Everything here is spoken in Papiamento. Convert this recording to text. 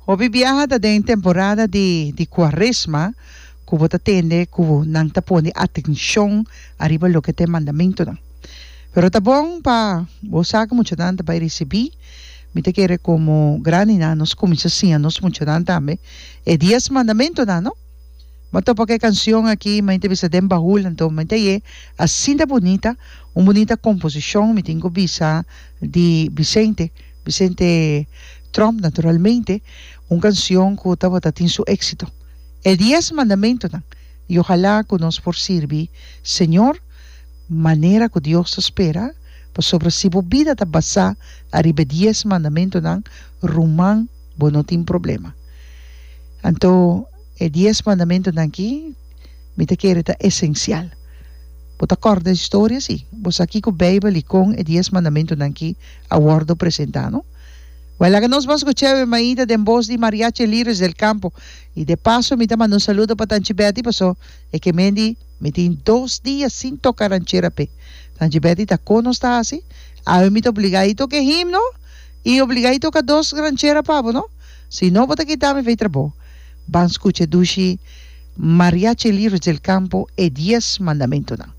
Hopi biaha ta den temporada di di kuaresma ku bo ta tende ku nan ta pone atenshon ariba loke ta e mandamentunan. Pero ta bon pa bo sa ku muchanan ta bai risibí. Mi ta kere komo grandinan nos kuminsá siña nos muchanan tambe e dies mandamentunan, no? Bo a topa ku e kanshon aki, mi ta bisa den bahul, anto mi ta ye asinta bunita, un bunita komposishon mi tin ku bisa di Vicente, Vicente Tromp naturalmente, un kanshon ku tabata tin su éksito. E dies mandamentunan, i ojalá ku nos por sirbi Señor manera ku Dios ta spera, pasobra si bo bida ta basá ariba e dies mandamentunan, ruman, bo no tin problema. Anto e dies mandamentunan aki mi ta kere ta esensial. Bo ta kòrda e historia? Sí. Bo sa kiko Beibel i kon e dies mandamentunan aki a wòrdu presentá, no? Wèl, laga nos ban skuch'é e mainta den bos di Mariachi Lirios del Campo. I de paso mi ta manda un saludo pa Tanchi Betty paso e ke men di mi tin dos dia sin toka ranchera p'e. Tanchi Betty ta kon nos ta hasi? Awe mi ta obligá i toka e himno i obligá i toka dos ranchera pa bo, no? Si no bo ta kita mi fei trabou. Ban skucha e dushi Mariachi Lirios del Campo e dies mandamentunan.